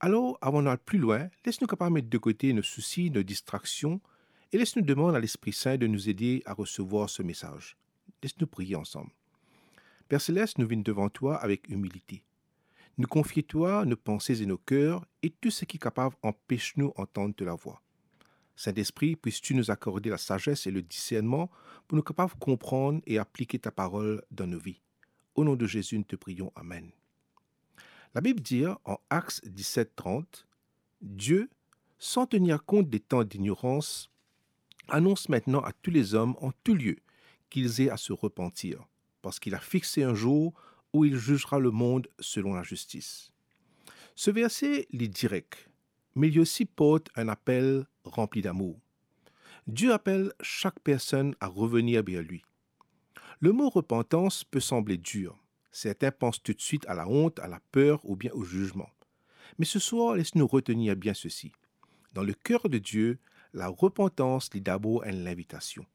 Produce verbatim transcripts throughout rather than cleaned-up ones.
Alor, avan nou al pli lwin, les nou kapav met de kote nou sousi, nou distraksion, e les nou demann a Lespri Sin de nou ede a resevwar so mesaz. Les nou priye ansam. Per Selest, nou vinn devan twa avek imilite. Nou konfie twa nou panse e nou ker e tou seki kapav anpes nou antann to lavwa. Sintespri, puisses-tu nous accorder la sagesse et le discernement pou nou kapav konprann e aplike ta parol dan nou vi. O non de Zezi, nou te priyon. Amen. Labib dir an Aks diset trant, Dieu, sans tenir compte des temps d'ignorance, annonce maintenant à tous les hommes en tout lieu qu'ils aient à se repentir, parce qu'il a fixé un jour où il jugera le monde selon la justice. Se verse, li direk, me li osi port enn apel ranpli damour. Dieu appelle chaque personne à revenir vers lui. Le mot repentance peut sembler dur. Certains pensent tout de suite à la honte, à la peur ou bien au jugement. Mais ce soir, laisse-nous retenir bien ceci. Dans le cœur de Dieu, la repentance li dabor enn linvitasion.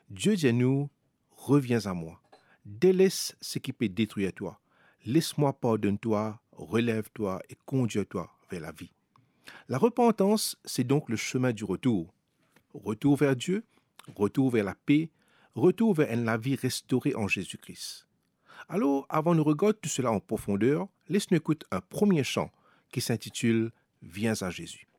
Dieu dir nou, reviens à moi. Délaisse ce qui peut détruire toi. Laisse-moi pardonner toi, relève-toi et conduire toi vers la vie. La repentance, c'est donc le chemin du retour. Retour vers Dieu, retour vers la paix, retour vers enn lavi restore an Zezi Kri. Alor, avan nou regard tou sela an profonder, les nou ekout enn premie san ki sintitil Viens à Jésus.